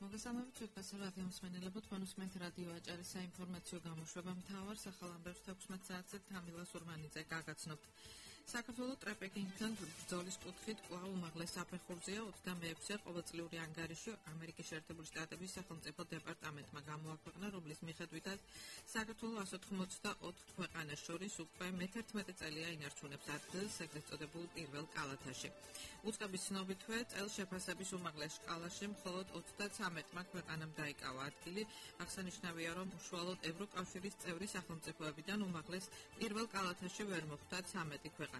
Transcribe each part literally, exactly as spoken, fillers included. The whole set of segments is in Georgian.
მოგესალმებით ვებკასი რადიო მსმენელებო, თქვენ უსმენთ რადიო აჭარის საინფორმაციო გამოშვება მთავარ სახალამბებს თექვსმეტ საათზე თამილა სურმანიძე გაგაცნობთ. საქართველოს ტრეპეკინგთან ბრძოლის კუთხით კვლავ უმაღლეს საფეხურზეა ოცდამეექვსე ყოველწლიური ანგარიში ამერიკის შეერთებული შტატების სახელმწიფო დეპარტამენტმა გამოაქვეყნა, რომლის მიხედვითაც საქართველოს ასი ოცდაოთხ ქვეყანას შორის უკვე მეთერთმეტე წელია ინარჩუნებს ადგილს ეგრეთ წოდებულ პირველ კალათაში. უწყების ცნობითვე წელს შეფასების უმაღლეს სკალაში მხოლოდ ოცდაცამეტმა ქვეყანამ დაიკავა ადგილი. აღსანიშნავია, რომ უშუალოდ ევროკავშირის წევრი სახელმწიფოებიდან უმაღლეს პირველ კალათაში ვერ მოხვდა ცამეტი ქვეყანა.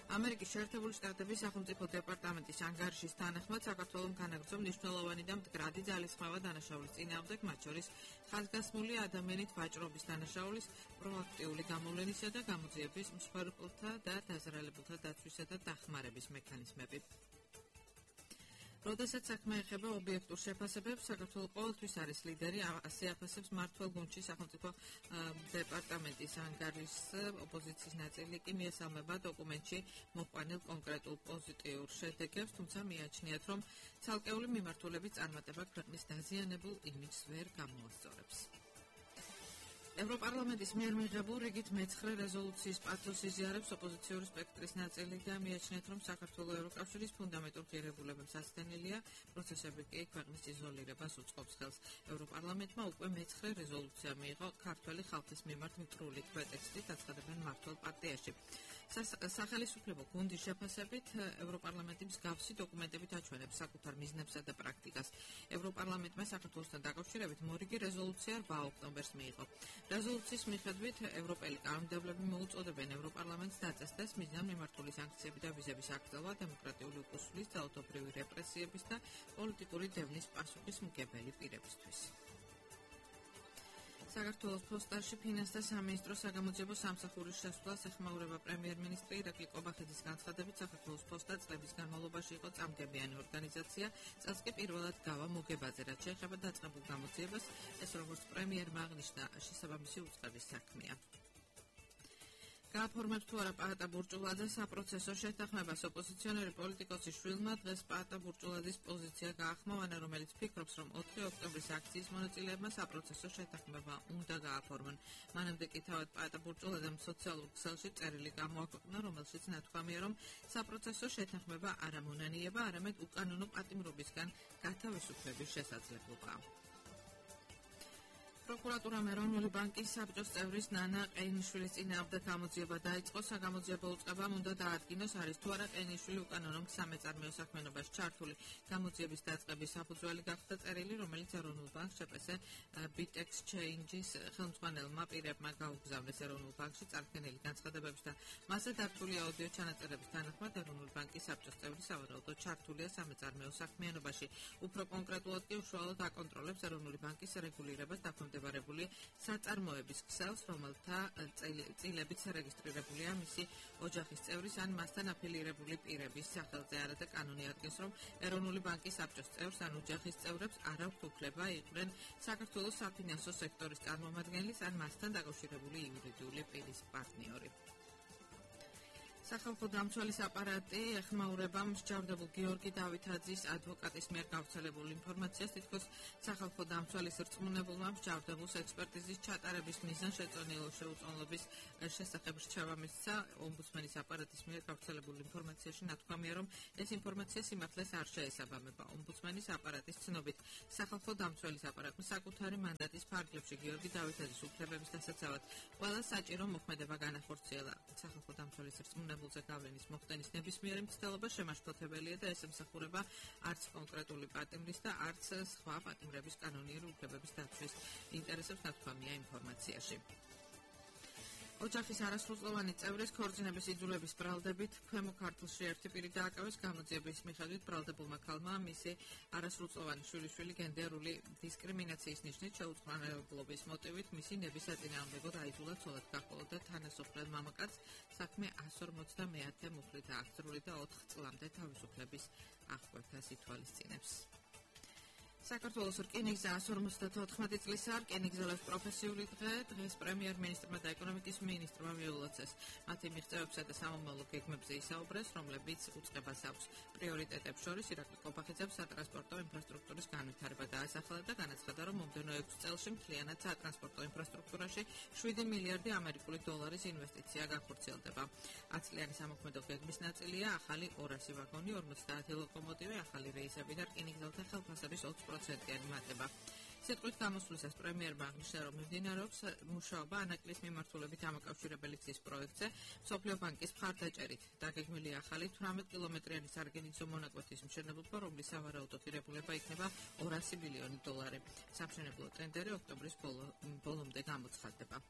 ამერიკის შეერთებული შტატების სახელმწიფო დეპარტამენტის ანგარიშის თანახმად საქართველოს განაგრძო მნიშვნელოვანი და მდგრადი ძალისხმევა დანაშაულის წინააღმდეგ, მათ შორის ხაზგასმული ადამიანით ვაჭრობის დანაშაულის პროაქტიული გამოვლენისა და გამოძიების მსხვერპლთა და დაზარალებულთა დაცვისა და დახმარების მექანიზმები. როდესაც საქმე ეხება ობიექტურ შეფასებებს, საქართველოს ყოველთვის არის ლიდერი, ასე აფასებს მმართველ გუნდში სახელმწიფო დეპარტამენტის ანგარიშს. ოპოზიციის ნაწილი კი მიესალმება დოკუმენტში მოყვანილ კონკრეტულ პოზიტიურ შედეგებს, თუმცა მიაჩნიათ, რომ ცალკეული მიმართულების წარმატება ქვეყნის დაზიანებულ იმიჯს ვერ გამოასწორებს. ევროპარლამენტის მიერ მიღებულ რიგით მეცხრე რეზოლუციის პათოსს იზიარებს ოპოზიციური სპექტრის ნაწილი და მიაჩნიათ, რომ საქართველოს ევროკავშირის ფუნდამენტურ ღირებულებებს ასთენელია, პროცესები კი ქვეყნის იზოლირებას უწყობს ხელს. ევროპარლამენტმა უკვე მეცხრე რეზოლუცია მიიღო ქართველი ხალხის მიმართ მტრული პრეტექსტით, აცხადებენ მმართველ პარტიაში. სახელისუფლებო გუნდის შეფასებით ევროპარლამენტი მსგავსი დოკუმენტებით აჩვენებს საკუთარ მიზნებსა და პრაქტიკას. ევროპარლამენტმა საქართველოსთან დაკავშირებით მორიგი რეზოლუცია რვა ოქტომბერს მიიღო. რეზოლუციის მიხედვით ევროპელი კანონმდებლები მოუწოდებენ ევროპარლამენტს დაწესდეს მიზნად მიმართული სანქციები და ვიზების აღწევა, დემოკრატიული უკუსვლის, ძალადობრივი რეპრესიების და პოლიტიკური დევნის პასუხისმგებელი პირებისთვის. საქართველოს ფოსტაში ფინანსთა სამინისტროს საგამოძიებო სამსახურის შესვლას ეხმაურება პრემიერ-მინისტრი ირაკლი ყობახიძის განცხადებით, საქართველოს ფოსტა წლების განმავლობაში იყო წამგებიანი ორგანიზაცია, წელს კი პირველად გავა მოგებაზე, რაც შეეხება დაწყებულ გამოძიებას, ეს როგორც პრემიერმა აღნიშნა, შესაბამისი უწყების საქმეა. გააფორმებს თუ არა პაატა ბურჭულაძე საპროცესო შეთანხმებას. ოპოზიციონერი პოლიტიკოსის შვილმა დღეს პაატა ბურჭულაძის პოზიცია გაახმოვანა, რომელიც ფიქრობს, რომ ოთხი ოქტომბრის აქციის მონაწილეებმა საპროცესო შეთანხმება უნდა გააფორმონ. მანამდე კი თავად პაატა ბურჭულაძემ სოციალურ ქსელში წერილი გამოაქვეყნა, რომელშიც ნათქვამია, რომ საპროცესო შეთანხმება არ ამონანიება, არამედ უკანონო პატიმრობისგან გათავისუფლების შესაძლებობაა. პროკურატურამ ეროვნული ბანკის საბჭოს წევრის ნანა ყეინიშვილის წინააღმდეგ გამოძიება დაიწყო. საგამოძიებო უწყებამ უნდა დაადგინოს, არის თუ არა ყეინიშვილი უკანონო სამეწარმეო საქმიანობაში ჩართული. გამოძიების დაწყების საფუძველი გახდა წერილი, რომელიც ეროვნულ ბანკს შეპესე ბიტექს ჩეინჯის ხელმძღვანელმა პირებმა გაუგზავნეს ეროვნულ ბანკში წარდგენილი განცხადებების და მასზე დართული აუდიო ჩანაწერების თანახმად ეროვნული ბანკის საბჭოს წევრი სავარაუდოდ ჩართულია სამეწარმეო საქმიანობაში. უფრო კონკრეტულად კი უშუალოდ აკონტროლებს ეროვნული ბანკის რეგულირებას დაქვემდებარებული საწარმოების ქსელს, რომელთა წილებით რეგისტრირებულია მისი ოჯახის წევრის ან მასთან აფილირებული პირების სახელზე. არადა კანონი ადგენს, რომ ეროვნული ბანკის საბჭოს წევრს ან ოჯახის წევრებს არ აქვთ უფლება იყვნენ საქართველოს საფინანსო სექტორის წარმომადგენლის ან მასთან დაკავშირებული იურიდიული პირის პარტნიორი. სახალხო დამცველის აპარატი ეხმაურება მსჯავრდებულ გიორგი დავითაძის ადვოკატის მიერ გავრცელებულ ინფორმაციას, თითქოს სახალხო დამცველის რწმუნებულმა მსჯავრდებულს ექსპერტიზის ჩატარების მიზან შეწონილ შეუწონლობის შესახებ რჩევა მისცა. ომბუდსმენის აპარატის მიერ გავრცელებულ ინფორმაციაში ნათქვამია, რომ ეს ინფორმაცია სიმართლეს არ შეესაბამება. ომბუდსმენის აპარატის ცნობით, სახალხო დამცველის აპარატმა საკუთარი მანდატის ფარგლებში გიორგი დავითაძის უფლებების დასაცავად ყველა საჭირო მოქმედება განახორციელა. სახალხო დამცველის რწმუნებულს გავლენის მოხდენის ნებისმიერი მცდელობა შემაშფოთებელია და ეს ემსახურება არც კონკრეტული პატიმრის და არც სხვა პატიმრების კანონიერი უფლებების დაცვის ინტერესებს, ნათქვამია ინფორმაციაში. ოჯახის არასრულწლოვანი წევრის ქორწინების იძულების ბრალდებით ქვემო ქართლში ერთი პირი დააკავეს. გამოძიების მიხედვით ბრალდებულმა ქალმა მისი არასრულწლოვანი შვილიშვილი გენდერული დისკრიმინაციის ნიშნით შეუწყნარებლობის მოტივით მისი ნების საწინააღმდეგოდ აიძულა ცოლად გაჰყოლო და თანასოფლელ მამაკაცს საქმე ასი ორმოცდამეათე მუხლით აღძრული და ოთხ წლამდე თავისუფლების აღკვეთას ითვალისწინებს. საქართველოს რკინიგზა ასი ორმოცდათოთხმეტი წლისა რკინიგზელებს პროფესიული დღე დღეს პრემიერ-მინისტრმა და ეკონომიკის მინისტრმა მიულოცეს. მათი მიღწევებსა და სამომავლო გეგმებზე ისაუბრეს, რომლებიც უწყებას აქვს. პრიორიტეტებს შორის ირაკლი ყობახიძემ სატრანსპორტო ინფრასტრუქტურის განვითარება და დაასახელა და განაცხადა, რომ მომდევნო ექვს წელში მთლიანად სატრანსპორტო ინფრასტრუქტურაში შვიდი მილიარდი ამერიკული დოლარის ინვესტიცია გახორციელდება. ათი წლიანი სამოქმედო გეგმის ნაწილია ახალი ორასი ვაგონი, ორმოცდაათი ლოკომოტივი, ახალი რეისები და რკინიგზელთა ხელფასების ოცი პროცენტიანი მატება. სიტყვით გამოსვლისას პრემიერმა აღნიშნა, რომ მიმდინარეობს მუშაობა ანაკლის მიმართულებით დამაკავშირებელი გზის პროექტზე, მსოფლიო ბანკის მხარდაჭერით. დაგეგმილია ახალი თვრამეტ კილომეტრიანი სარკინიგზო მონაკვეთის მშენებლობა, რომლის სავარაუდო ღირებულება იქნება ორასი მილიონი დოლარი. სამშენებლო ტენდერი ოქტომბრის ბოლომდე გამოცხადდება.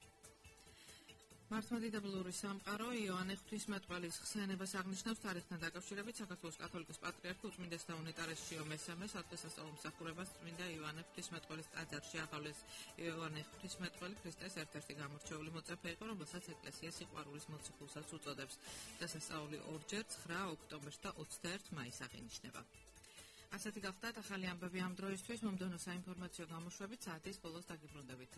მართლმადიდებლური სამყარო იოანე ღვთისმეტყველის ხსენებას აღნიშნავს თარიღთან დაკავშირებით საქართველოს კათოლიკის პატრიარქი უწმინდეს და უნეტარეს შიო მესამე სადღესასწაულო მსახურებას წმინდა იოანე ღვთისმეტყველის ტაძარში აღავლეს. იოანე ღვთისმეტყველი ქრისტეს ერთ-ერთი გამორჩეული მოწაფე იყო, რომელსაც ეკლესია სიყვარულის მოციქულსაც უწოდებს. დასასწაული ორჯერ ცხრა ოქტომბერს და ოცდაერთი მაისს აღინიშნება. ასეთი გახდათ ახალი ამბები ამ დროისთვის. მომდევნო საინფორმაციო გამოშვებით საათის ბოლოს დაგიბრუნდებით.